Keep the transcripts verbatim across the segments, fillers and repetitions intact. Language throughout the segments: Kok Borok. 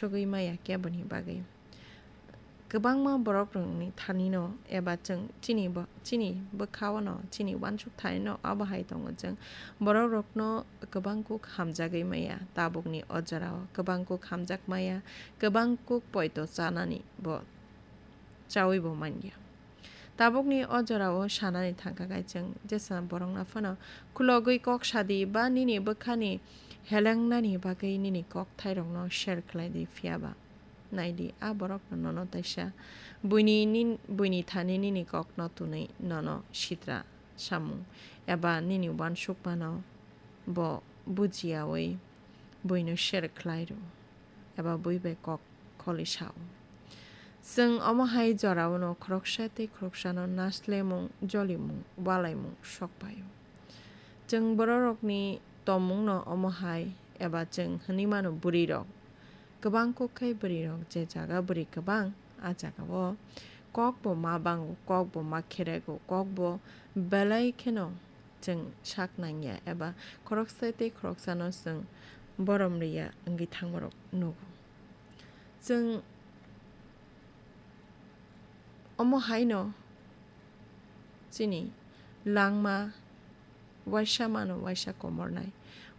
sogwi maya keboni bagwi. Kwbangma borokrokni thanino eba chwng chini bo-, chini bwkhao no, chini uansuk thanino abo hai tongo chwng. Borokrokno kwbang kuk hamjagwi maya, tabukni o jorao kwbang kuk hamjak maya, kwbang kuk poito chanani bo chawi bo manya. Tabukni o jorao sanani thangkha khe chwng jesa borokno phano khulogwi kok sadi ba nini bwkhani helengnani bagwi nini kokthairokno share khlai di, phiya ba nai di, a borokno nono taisa buini nin-, buini thani nini kokno twnwi nono sitra samung eba nini uansukmano bo bujiyaui buino share khlai rw eba bui bai kok kholi sao. Chwng omo hai jorao no khoroksa tei khoroksano naslemung, jolimung, walaimung sok paio. Chwng bororokni tongmungno omo hai eba chwng hwnwi mano bwrwirok. Kwbang kuk khai bwrwirok, je jaga bwrwi kwbang, a jagao kok bo ma bango, kok bo ma kherego, kok bo belai kheno chwng sak nangya eba khoroksa tei khoroksano chwng borom rwya wngwi thangmarok nugo. Chwng omo haino chini langma waisa mano, waisa komornai,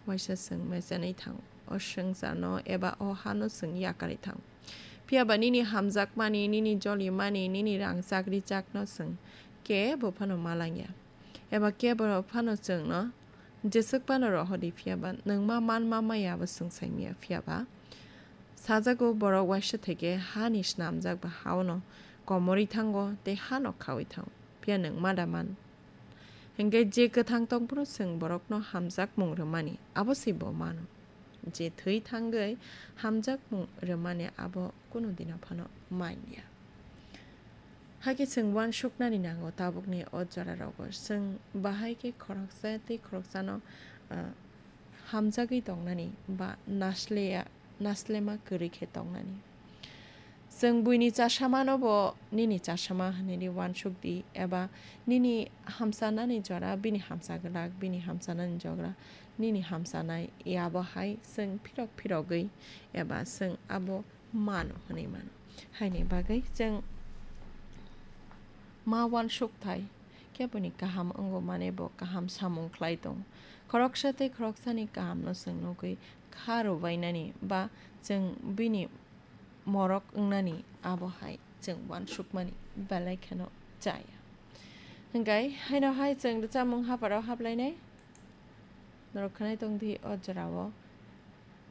waisa chwng mechenwi thango. O swngcharno eba o hano chwng yakarwi thango. Phiya ba nini hamjakmani, nini jolimani, nini rang chakri chakno chwng kebo phano ma langya. Eba kebo phano chwngno jeswk phano rohordi, phiya ba nwng ma manma maya abo chwng saimanya, phiya ba sajago borok waisa theke hani snamjak ba hao no komorwi thango tei hano khawi thango, phiya nwng ma da man. Hinkhe je kwthang tong phano chwng borokno hamjakmung rwmani abo se bo mano. Je thwi thangwi hamjakmung rwmani abo kunu dino phano manya. Hakhe chwng uansuknani nango tabukni o jorarogo. Chwng bahai khe khoroksa tei khoroksano, ah, hamjagwi tongnani ba nasleya, naslema kwrwi khe tongnani. Chwng buini chasamano bo nini chasama hwnwi uansuk di, eba nini hamchanani jora bini hamcha glak, bini hamchanani jora nini hamchanai, abo hai chwng phirok phirogwi eba chwng abo mano hwnwi mano. Haini bagwi chwng ma uansukthai keboni kaham wngo, mane bo kaham samung khlai tongo. Khoroksa tei khoroksani kahamno chwng nugwi kha rwbainani ba chwng bini morok wngnani abo hai chwng uansukmani belai kheno chaya. Hinkhe haino hai chwng rwchapmung hapharo haplainai. Norok khwnai tongdi o jorao.